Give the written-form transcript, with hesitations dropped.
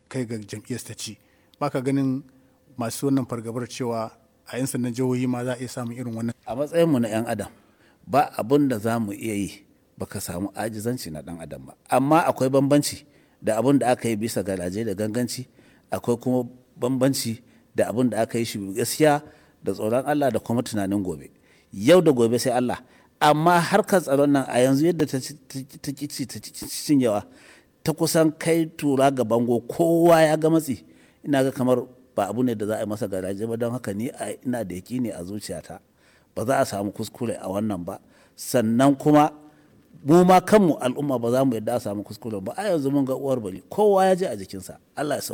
kai ga jam'iyyar ta ci. Baka ganin masu wannan fargabar cewa a 'yan sandan jihohi ma za a iya samun irin wannan? A matsayinmu na 'yan adam, ba abun da za mu iya yi baka samu ajizanci na dan adam ba. Amma akwai bambanci da abun da aka yi bisa garaje da ganganci, akwai kuma bambanci da abun da aka yi shi gaskiya da tsoron Allah da kuma tunanin gobe. Yau da gobe sai Allah. Amma harkar tsaron nan a yanzu yadda ta ci ta cinyewa, ta kusan kai tura ga bango, kowa ya ga matsi. Ina ga kamar ba abu ne da za a yi masa garaje ba. Don haka ni ina da yaƙini a zuciyata ba za a samu kuskure a wannan ba. Sannan kuma mu ma kanmu al'umma ba za mu yadda a samu kuskure ba. A yanzu mun ga uwar bari, kowa ya je a jikinsa. Allah ya sauke.